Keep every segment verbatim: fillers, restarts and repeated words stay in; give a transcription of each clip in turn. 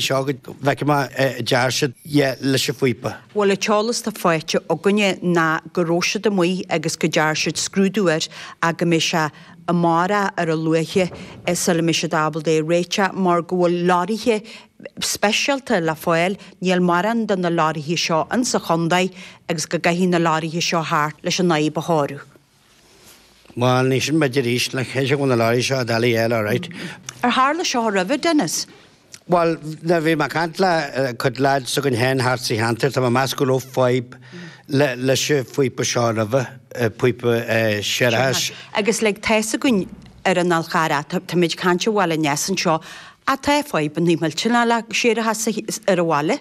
seo go bhfeicfidh mé a deir siad yeah leis an phíopa. Bhuel an t-eolas atá faighte againne ná go raibh siad amuigh agus go dtear siad scrúdú air ach go mbeidh sé amárach ar a luaithe sula mbeidh siad ábalta é a réiteach mar go bhfuil leoraithe speisialta le fáil, níl mórán de na leoraithe seo insa chontae agus go gcaithfidh na leoraithe seo theacht leis an fhadhb a shárú. Bhuel, ní sin muid arís, like, théis go bhfuil na leoraithe seo ag dul a fháil alright. Ar tharla seo roimhe, Dennis? Bhuel, nuair a bhí mé ag caint le cuid lads s'againn féin thart sa cheantar, tá mé ag meas go raibh fadhb leis an phíopa seo roimhe, píopa séarachais. Agus like tá's againn ar an Fhál Charrach, táimid ag caint ar Bhaile an Easa anseo, ach tá fadhbanna millteanna le séarachas ar an bhaile.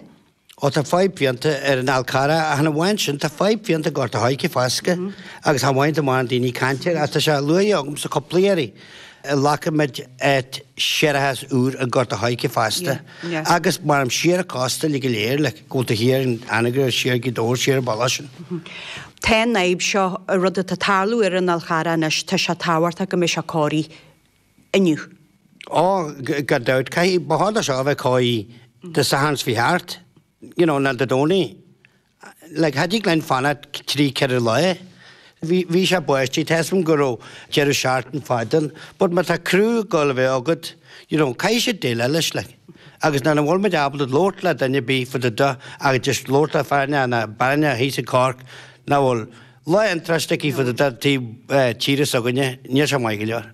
Ó tá fadhb fiánta ar an Fhál Carrach ach chan amháin sin, tá fadhb fiánta i nGort a' Choirce fosta agus chan amháin tá mórán daoine ag caint air ach tá sé luaite agamsa cúpla iarraidh. Glacfaimid áit séarachas úr i nGort a' Choirce fosta agus maram siar an cósta uilig go léir, like, go bhfuil tú thiar in Anagaire, siar Gaoth Dobhair, siar an bealach sin. Tá an fhadhb seo, an rud atá ag tarlú ar an Fhál Charrach anois, tá sé tábhachtach go mbeidh sé cóirithe inniu. Ó, gan dabht, caithfidh, ba chóir do seo a bheith cóirithe Dé Sathairn seo thart, you know, nó Dé Domhnaigh. Like, cha dtig linn fanacht trí, ceithre lá. Bhí, bhí sé báistí, tá 'fhios a'm go raibh deireadh seachtain fada ann, but má tá criú ag dul a bheith agat, you know, caithfidh siad déileáil leis, like. Agus nuair nach bhfuil muid ábalta labhairt le duine ar bith fá dtaobh de ach just labhairt le fear nó bean thíos i Cork nach bhfuil lá interest aici fá dtaobh den taobh tíre s'againne, níl sé maith go leor.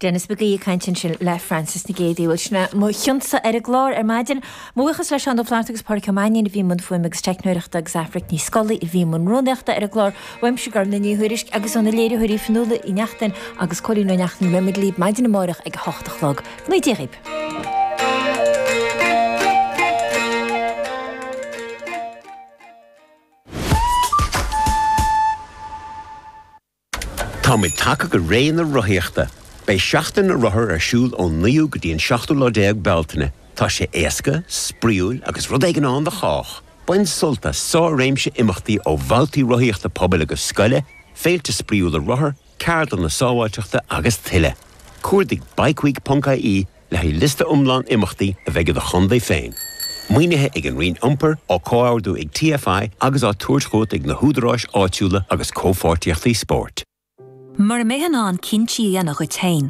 Denis Mac Aoidh ag caint ansin le Francis Nic Géadaigh. Bhuel, sin é mo chionsa ar an gclár ar maidin. Mo bhuíochas le Seán Ó Flatharta agus Pádraic Ó Mainnín a bhí i mbun fuaime agus teicneoireachta agus Aifric Ní Scolaí a bhí i mbun rúnaíochta ar an gclár. Uaimse Gormfhlaith Ní Thuairisg agus ó na léiritheoirí Fionnuala Uí Neachtain agus Cóilín Ó Neachtain beidh muid libh maidin amárach ag a hocht a chlog. Go dtí Dia dhaoibh. Táimid tagtha go ré na rothaíochta. Beidh Seachtain na Rothar ar siúl ón naoú go dtí an seachtú lá déag Bealtaine. Tá sé éasca, spraíúil agus rud éigin ann do chách. Bain sult as sár-réimse imeachtaí ó bhabhtaí rothaíochta pobail agus scoile, féilte spraíúla rothar, ceardlanna sábháilteachta agus tuilleadh. Cuardaigh bikeweek.ie le haghaidh liosta iomlán imeachtaí a bheidh i do chontae féin. Maoinithe ag an Roinn Iompair, á comhordú ag TFI agus á tabhairt chugat ag na húdaráis áitiúla agus comhpháirtíochtaí spóirt. Mura mbeifeá in ann cinntí a dhéanamh dhuit féin,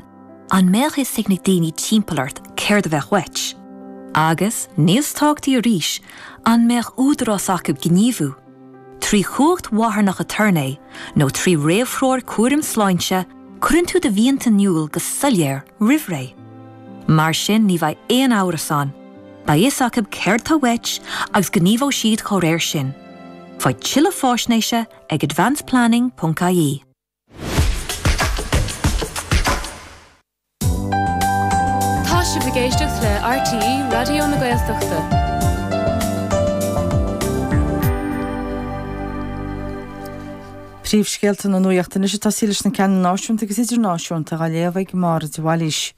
an mbeadh fhios ag na daoine timpeall ort céard a bheadh uait? Agus, níos tábhachtaí arís, an mbeadh údarás acu gníomhú? Trí chumhacht mharthanach aturnae nó trí réamhthreoir cúraim sláinte, cuireann tú do mhianta in iúl go soiléir roimh ré. Mar sin ní bheidh aon amhras ann, beidh fhios acu céard atá uait agus gníomhóidh siad dá réir sin. Faigh tuilleadh faisnéise ag advanceplanning.ie. Tá sibh ag éisteacht le RTÉ Raidió na Gaeltachta. Príomhscéalta na nuachta anois ag tosaí leis na ceanna náisiúnta agus idirnáisiúnta á léamh ag Máire de Bhailís.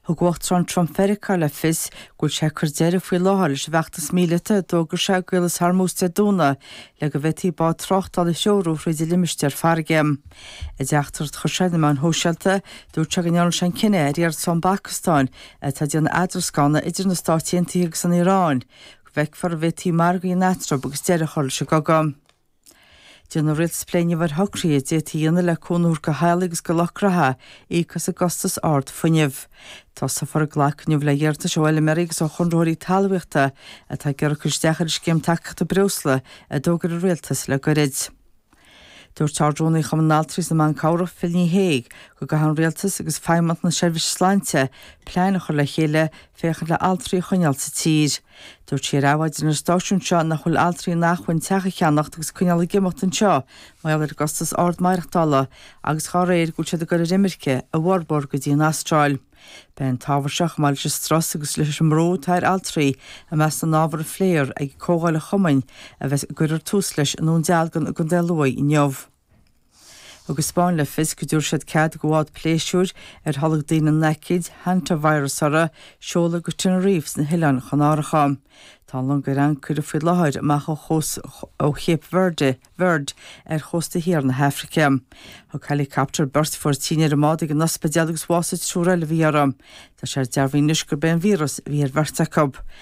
Thug Uachtarán Trump Mheiriceá le fios go bhfuil sé ag cur deireadh faoi láthair leis an bhfeachtas míleata a d'fhógair sé i gCaolas Hormuz Dé Domhnaigh le go bhféadfaí báid tráchtála a threorú thríd an limistéar farraige. I dteachtaireacht a chuir sé ar na meáin shóisialta, dúirt sé go ndearna sé an cinneadh ar iarratas ón bPacastáin, atá ag déanamh eadrascána idir na Stáit Aontaithe agus an Iaráin, go bhfeicfear an bhféadfaí margadh a dhéanamh eatarthu agus deireadh a chur leis an gcogadh. Déanfaidh an Rialtas plé inniu ar shocruithe a d'fhéadfaí a dhéanamh le cúnamh a thabhairt do theaghlaigh agus do lucht gnótha íoc as an gcostas ard fuinnimh. Tosófar ag glacadh inniu le hiarratais ó fheilméaraí agus ó chonraitheoirí talmhaíochta atá ag iarraidh cur isteach ar an scéim tacaíochta breosla a d'fhógair an Rialtas le goirid. Dúirt Ard-Rúnaí Chumann na nAltraí is na mBan Cabhrach, Phil Ní Sheaghdha, go gcaithfidh an Rialtas agus Feidhmeannacht na Seirbhíse Sláinte plean a chur le chéile féachaint le altraí a choinneáil sa tír. Dúirt sí ar Adhmhaidin ar an stáisiún seo nach bhfuil altraí in acmhainn teach a cheannacht agus coinneáil ag imeacht anseo mar gheall ar an gcostas ard maireachtála agus dá réir go bhfuil siad ag dul ar imirce, a bhformhór go dtí an Astráil. Beidh an t-ábhar seo chomh maith leis an strus agus leis an mbrú atá ar altraí i measc na n-ábhar a phléifear ag comhdháil an chumainn a bheas a gcuirfear tús leis i nDún Dealgan i gContae Lú inniu. Thug an Spáinn le fios go dtabharfaidh siad cead do bhád pléisiúir ar tholg daoine an aicíd Hantavirus orthu seoladh go Tenerife sna hOileáin Chanáracha. Tá an long ar ancaire faoi láthair amach ó ó Cape Verde Verde ar chósta thiar na hAfraice. Thug helicopter beirt a fuair tinn ar an mbád ag an ospidéal agus bhásaigh triúr eile a bhí orthu. Tá sé dearbhaithe anois gurb é an víreas a bhí ar bheirt acu.